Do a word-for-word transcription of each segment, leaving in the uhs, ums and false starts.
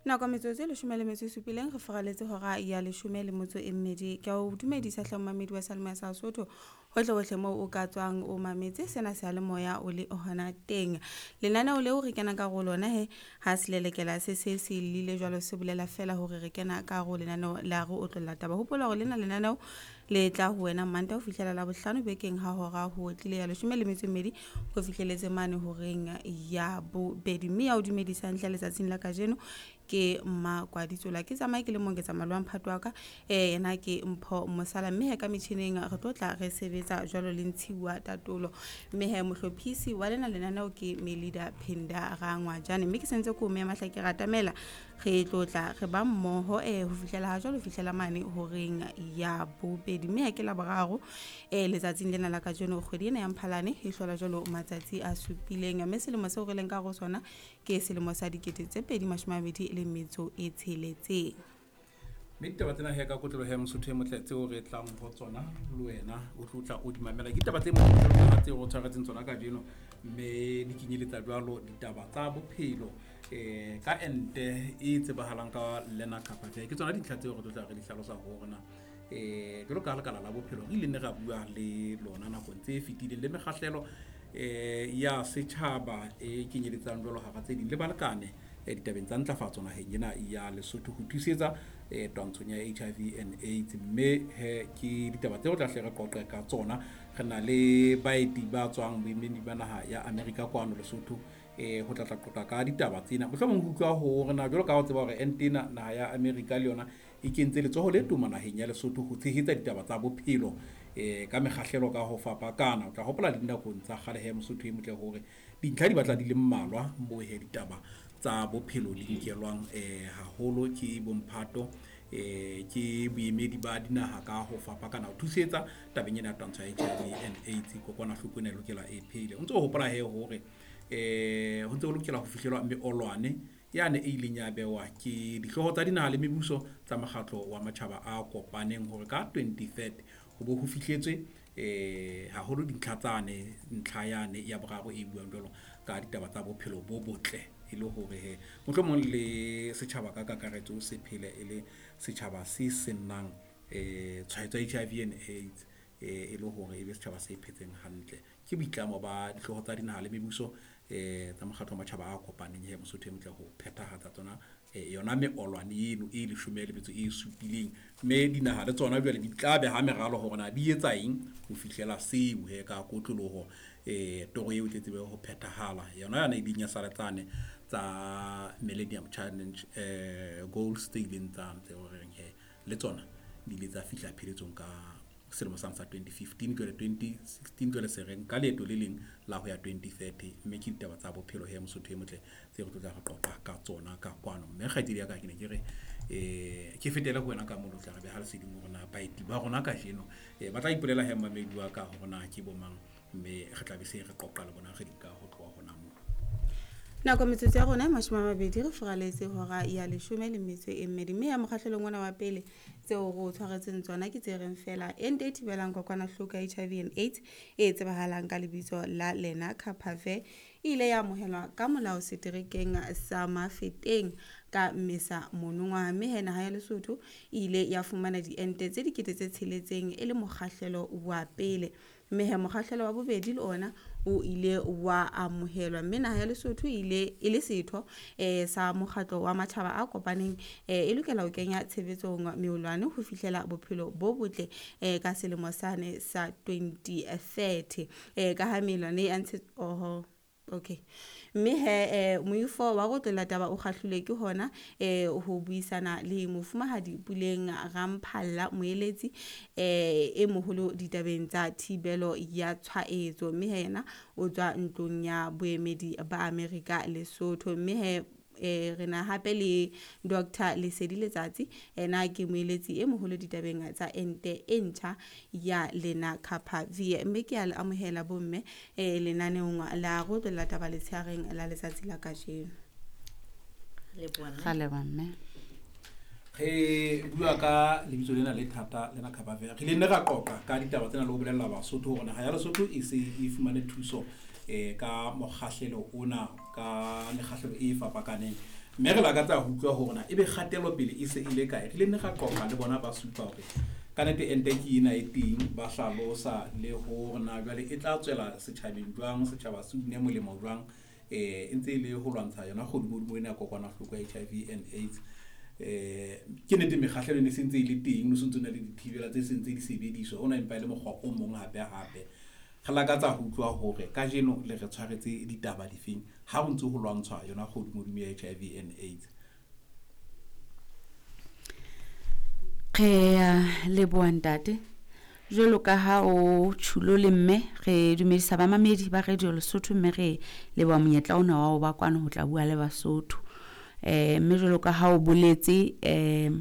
Nako metsotso e leshome le metso e supileng re furaletse hora ya leshome le motso e mmedi. Ke a o dumedisa hle momamedi wa Seyalemoya sa Sesotho hohle hohle moo o ka tswang o mametse sena seyalemoya o le hona teng. Lenaneo leo re kenang ka hare ho lona he ha selelekela se se se llile jwalo se bolela fela hore re kena ka hare ho lenaneo la re otlolla taba. Hopola hore lena lenaneo le tla ho wena Mantaha ho fihlela Labohlano bekeng ha hora ho tlile ya leshome le metso e mmedi ho fihleletse mane horeng ya bobedi. Mme ya o dumedisang hle letsatsing la kajeno ke Mmakwaditsola. Ke tsamaye ke le mong ke tsamaya le wa mphato wa ka, eh yena ke Mpho Mosala. Mme he ka metjhining re tlo tla re sebetsa jwalo le Ntshiwa Tatolo. Mme he mohlophisi wa lena lenaneo ke Melida Phinda Rangwajane. Mme ke sentse ko mema hle ke ratamela re tlo tla re ba mmoho eh ho fihlela ha jwalo ho fihlela mane horeng ya bobedi. Mme ha ke Laboraro eh letsatsing lena la kajeno kgwedi ena ya Mphalane e hlola jwalo matsatsi a supileng. Mme selemo seo re leng ka hare ho sona ke selemo sa dikete tse pedi mashome a mabedi le metso e tsheletseng. Mme ditaba tsena he ka kotloloho ya Mosotho e motle tseo re tlang ho tsona le wena o tlo tla o di mamela. Ke ditaba tse monate tseo re tshwaretseng tsona kajeno, mme di kenyeletsa jwalo ditaba tsa bophelo eh ka ente e tsebahalang ka Lenacapavir. Ke tsona dintlha tseo re tlo tla re di hlalosa ho rona eh jwalo ka lekala la bophelo re ile ne ra bua le lona nakong tse fetileng le mekgahlelo eh ya setjhaba e kenyeletsang jwalo hara tse ding le balekane eh ditabeng tsa ntlafatso naheng ena ya Lesotho ho thusetsa eh twantshong ya H I V and AIDS. Mme he ke ditaba tseo tla hle re qoqe ka tsona. Re na le baeti ba tswang boemedi ba naha ya Amerika kwano Lesotho eh ho tla tla qoqa ka ditaba tsena. Mohlomong ho utlwa hore na jwalo ka ha o tseba hore ente ena naha ya Amerika le yona e kentse letsoho le toma naheng ya Lesotho ho tshehetsa ditaba tsa bophelo eh ka mekgahlelo ka ho fapakana. O tla hopola le dinakong tsa kgale he Mosotho e motle hore dintlha di batla di le mmalwa moo he ditaba tsa bophelo di nkelwang eh haholo ke bomphato eh ke boemedi ba dinaha ka ho fapakana ho thusetsa tabeng ena ya twantsho ya H I V and AIDS. Kokwanahloko ena e lokela e phele. O ntso hopola he hore eh ho ntse ho lokela ho fihlelwa meolwane yane e ileng ya bewa ke dihlooho tsa dinaha le mebuso tsa mokgatlo wa matjhaba a kopaneng hore ka twenty thirty ho bo ho fihletswe eh haholo dintlha tsane, ntlha yane ya boraro e buang jwalo ka ditaba tsa bophelo bo botle e le hore he mohlomong le setjhaba ka kakaretso se phele e le setjhaba se senang eh tshwaetso ya H I V and AIDS eh e le hore e be setjhaba se phetseng hantle. Ke boitlamo ba dihlooho tsa dinaha le mebuso eh tsa mokgatlo wa matjhaba a kopaneng he Mosotho e motle ho phethahatsa tsona eh yona meolwane eno e leshome le metso e supileng. Mme dinaha le tsona jwale di tla beha meralo hore na di etsa eng ho fihlela seo he ka kotloloho eh toro eo e tle tsebe ho phethahala. Yona yane e ileng ya sala tsane tsa Millennium Challenge eh goals tse ileng tsa tse horeng he le tsona di ile tsa fihla pheletsong ka selemo sa twenty fifteen jwale twenty sixteen jwale se re nka leeto le leng la ho ya twenty thirty. Mme ke ditaba tsa bophelo he Mosotho e motle tse re tlo tla re qoqa ka tsona ka kwano. Mme kgaitsedi ya ka ke ne ke re eh ke fetele ho wena ka moo, tla re beha leseding hore na baeti ba rona kajeno eh ba tla ipolela he mmamedi wa ka hore na ke bo mang, mme re tla be se re qoqa le bona re di ka ho tloha hona moo. Nako metsotso ya rona e mashome a mabedi re furaletse hora ya leshome le metso e mmedi. Mme ya mokgahlelong ona wa pele tseo re o tshwaretseng tsona ke tse reng fela ente e thibelang kokwanahloko ya H I V and AIDS e tsebahalang ka lebitso la Lenacapavir e ile ya amohelwa ka molao seterekeng sa Mafeteng ka Mmesa monongwaha. Mme he naha ya Lesotho e ile ya fumana diente tse dikete tse tsheletseng e le mokgahlelo wa pele. Mme he mokgahlelo wa bobedi le ona o ile wa amohelwa. Mme naha ya Lesotho e ile e le setho eh sa mokgatlo wa matjhaba a kopaneng eh e lokela ho kenya tshebetsong meolwane ho fihlela bophelo bo botle eh ka selemo sane sa twenty thirty. Eh ka ha meolwane ya ntshe oho okay. Mme he eh moifo wa go tlola taba o kgahlilwe ke hona eh ho buisana le mofumahadi Puleng Ramphalla moeletsi eh e moholo ditabeng tsa thibelo ya tshwaetso. Mme he yena o tswa ntlong ya boemedi ba Amerika Lesotho. Mme he eh re na hape le Doctor Lesedi Letsatsi, ena ke moeletsi e moholo ditabeng tsa ente e ntjha ya Lenacapavir. Mme ke a le amohela bomme eh lenaneong la go tlola taba letsheareng la letsatsi la kajeno. Ra leboha mme. Re bua ka lebitso lena le thata Lenacapavir. Re ile ne ra qoqa ka ditaba tsena le ho bolella Basotho hore naha ya Lesotho e se e fumane thuso um ka mokgahlelo ona ka mekgahlelo e fapakaneng. Mme re lakatsa ho utlwa hore na ebe kgatelopele e se e le kae. Re ile nne ra qoqa le bona ba supa hore ka nnete ente ke ena e teng, ba hlalosa le hore na jwale e tla tswela setjhabeng jwang, setjhaba se une molemo jwang, eh e ntse e le ho lwantsha yona kgodimodimo ena ya kokwanahloko ya H I V and AIDS. Eh ke nnete mekgahlelo e ne se ntse e le teng, no se ntse o na le dithibela tse sentse di sebediswa, ona empa e le mokgwa o mong hape hape. Re lakatsa ho utlwa hore kajeno le re tshwaretse ditaba difeng ha ho ntse ho lwantshwa yona kgodimodimo ya H I V and AIDS. Re a leboha ntate. Jwalo ka ha o tjhulo le mme, re dumedisa bamamedi ba Radio Lesotho mme re leboha monyetla ona wa ho ba kwano ho tla bua le Basotho. Eh mme jwalo ka ha o boletse eh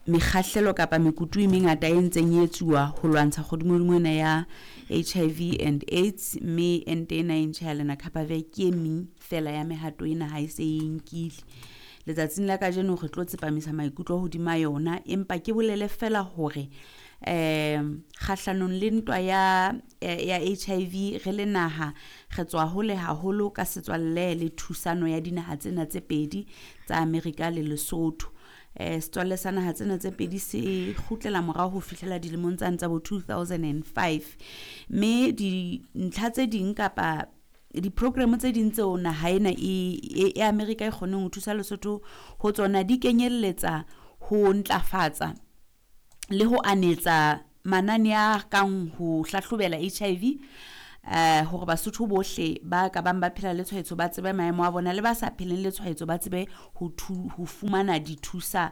mekgahlelo kapa mekutu e mengata e ntseng e etsuwa ho lwantsha kgodimodimo ena ya H I V and AIDS, mme ente ena e ntjha ya Lenacapavir ke e meng fela ya mehato ena ha e se e nkile. Letsatsing la kajeno re tlo tsepamisa maikutlo hodima yona, empa ke bolele fela hore eh kgahlanong le ntwa ya ya H I V re le naha re tswa hole haholo ka setswalle le thusano ya dinaha tsena tse pedi tsa Amerika le Lesotho. Eh setswalle sa naha tsena tse pedi se kgutlela morao ho fihlela dilemong tsane tsa bo two thousand and five, mme dintlha tse ding kapa di-program tse ding tseo naha ena e, e Amerika e kgoneng ho thusa Lesotho ho tsona di kenyelletsa ho ntlafatsa le ho anetsa manane a kang ho hlahlobela H I V, eh hore Basotho bohle ba ka bang ba phela le tshwaetso ba tsebe maemo a bona, le ba sa pheleng le tshwaetso ba tsebe ho ho fumana dithusa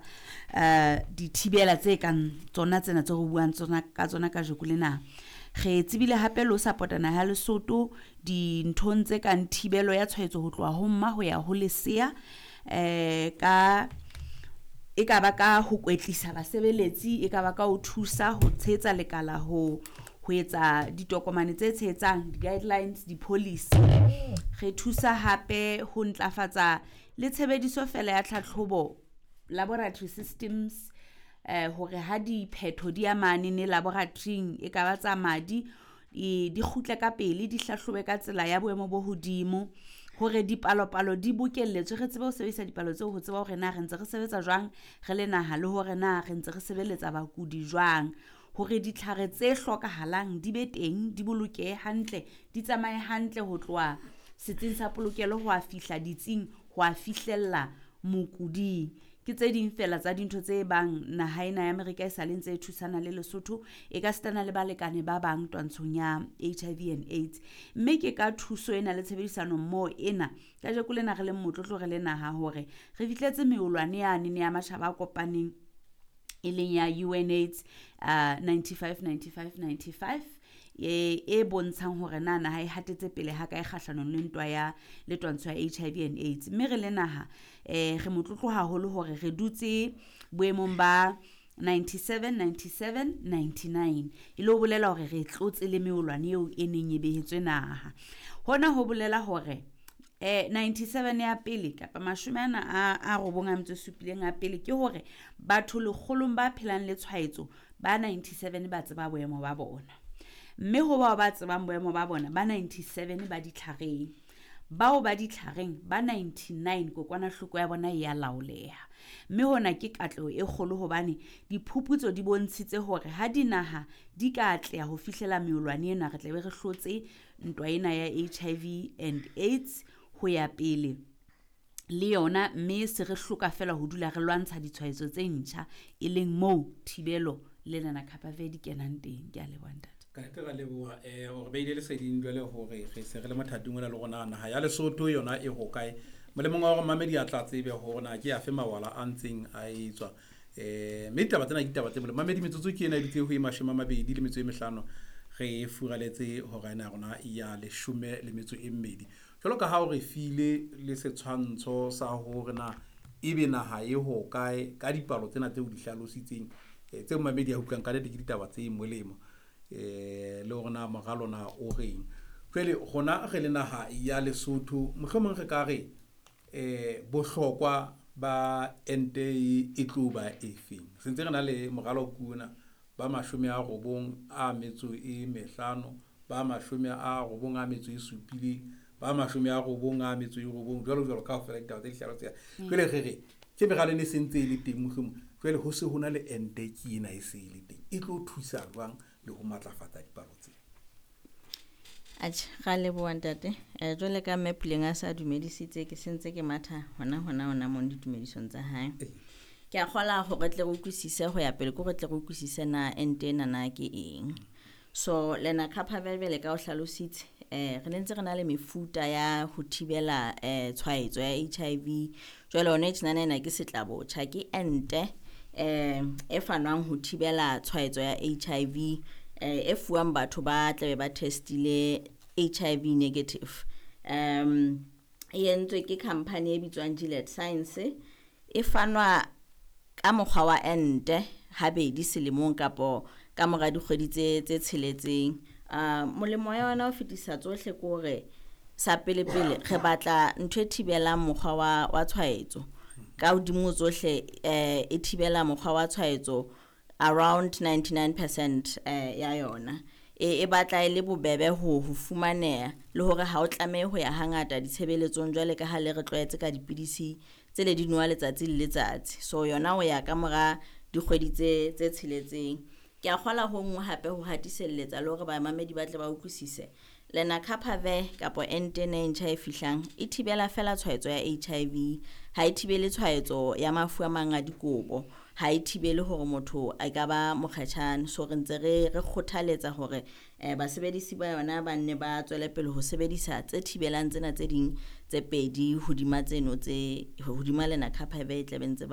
eh dithibela tse kang tsona tsena tse re buang tsona ka tsona kajeno lena. Re tsebile hape le ho support-a naha ya Lesotho dinthong tse kang thibelo ya tshwaetso ho tloha ho mma ho ya ho lesea, eh ka e ka ba ka ho kwetlisa basebeletsi, e ka ba ka ho thusa ho tshehetsa lekala ho ho etsa ditokomane tse tshehetsang di-guidelines, di-policy. Re thusa hape ho ntlafatsa le tshebediso fela ya tlhatlhobo laboratory systems, eh hore ha diphetho di amane ne laboratoryng e ka ba tsa madi e di kgutle ka pele, di hlahlobe ka tsela ya boemo bo hodimo, hore dipalopalo di bokelletswe, re tsebe ho sebedisa dipalo tseo ho tseba hore na re ntse re sebetsa jwang re le naha, le hore na re ntse re sebeletsa bakudi jwang, hore ditlhare tse hlokahalang di be teng, di bolokehe hantle, di tsamaye hantle ho tloha setsing sa polokelo ho a fihla ditsing, ho a fihlella mokuding. Ke tse ding fela tsa dintho tse bang naha ena ya Amerika e sa le ntse e thusana le Lesotho, e ka sitana le balekane ba bang twantshong ya H I V and AIDS. Mme ke ka thuso ena le tshebedisano mmoho ena kajeko lena re leng motlotlo re le naha hore re fihletse meolwane yane ya matjhaba a kopaneng e leng ya U N AIDS uh, ninety-five ninety-five ninety-five e e bontshang hore na naha e hatetse pele ha kae kgahlanong le ntwa ya le twantsho ya H I V and AIDS. Mme re le naha eh re motlotlo haholo hore re dutse boemong ba ninety-seven ninety-seven ninety-nine, e le ho bolela hore re tlotse le meolwane eo e neng e behetswe naha. Hona ho bolela hore eh ninety-seven ya pele kapa mashome ana a a robong a metso e supileng a pele ke hore batho lekgolong ba phelang le tshwaetso ba ninety-seven ba tseba boemo ba bona, mme ho bao ba tsebang boemo ba bona ba ninety-seven ba ditlhareng, bao ba ditlhareng ba ninety-nine kokwanahloko ya bona e ya laoleha. Mme hona ke katleho e kgolo hobane diphuputso di bontshitse hore ha dinaha di ka atleha ho fihlela meolwane ena, re tla be re hlotse ntwa ena ya H I V and AIDS ho ya pele le yona, mme se re hloka fela ho dula re lwantsha ditshwaetso tse ntjha, e leng moo thibelo le Lenacapavir di kenang teng. Ke a leboha ntate. Ka nnete ra leboha eh hore beile leseding jwale hore re se re le mothating ona le rona naha ya Lesotho yona e hokae. Molemong wa hore mamedi a tla tsebe hore na ke afe mawala a ntseng a etswa. Eh mme ditaba tsena ke ditaba tse molemo. Mamedi metsotso ke ena e dutse ho e mashome a mabedi le metso e mehlano, re furaletse hora ena ya rona ya leshome le metso e mmedi. Jwalo ka ha o re file le setshwantsho sa hore na ebe naha e hokae ka dipalo tsena tseo di hlalositseng, tseo mamedi a utlwang ka nnete ke ditaba tse molemo, eh le hore na moralo na o reng. Jwale rona re le naha ya Lesotho, mohlomong re ka re eh bohlokwa ba ente e tlo ba efeng? Sentse re na le moralo kuna ba mashome a robong a metso e mehlano Ba mashome a robong a metso e supileng, ba mashome a robong a metso e robong, jwalo jwalo kaofela ditaba tse di hlaloseha. Jwale re re ke meralo e ne se ntse e le teng mohlomong, jwale ho se ho na le ente ke ena e se e le teng. E tlo thusa jwang le ho matlafatsa dipalo tse? Atjhe, ra leboha ntate. Eh, jwale ka mme Puleng a sa dumedisitse, ke sentse ke matha hona hona hona mong ditumedisong tsa hae. Ke a kgola hore tle re utlwisise ho ya pele, ke hore tle re utlwisise na ente ena na ke eng. So Lenacapavir jwale ka o hlalositse, eh re ne ntse re na le mefuta ya ho thibela eh tshwaetso ya H I V. Jwale hona tjenana ena ke setlabotjha, ke ente eh e fanwang ho thibela tshwaetso ya H I V, eh e fuwang batho ba tlabe ba testile H I V negative. Um e entswe ke company e bitswang Gilead Science, e fanwa ka mokgwa wa ente habedi selemong kapo ka mora dikgwedi tse, tse tsheletseng. Ah, molemo wa yona o fetisa tsohle ke hore sa pele pele re batla ntho e thibelang mokgwa wa, wa tshwaetso. Ka hodimo tsohle, eh, e thibela mokgwa wa tshwaetso around ninety-nine percent, eh, ya yona. E, e batla e le bobebe ho, ho fumaneha le hore ha o tlamehe ho ya hangata ditshebeletsong jwale ka ha le re tlwaetse ka dipidisi tse le di nowa letsatsi le letsatsi. So yona o ya ka mora dikgwedi tse, tse tsheletseng. Ke a kgola ho nngwe hape ho hatiselletsa le hore bamamedi ba tle ba utlwisise. Lenacapavir kapo ente ena e ntjha e fihlang e thibela fela tshwaetso ya H I V, ha e thibele tshwaetso ya mafu a mang a dikobo, ha e thibele hore motho a ka ba mokgatjhane. So re ntse re, re kgothaletsa hore, eh, basebedisi ba yona ba nne ba tswele pele ho sebedisa tse thibelang tsena tse ding tse pedi hodima tseno tse hodima Lenacapavir e tla be ntse ba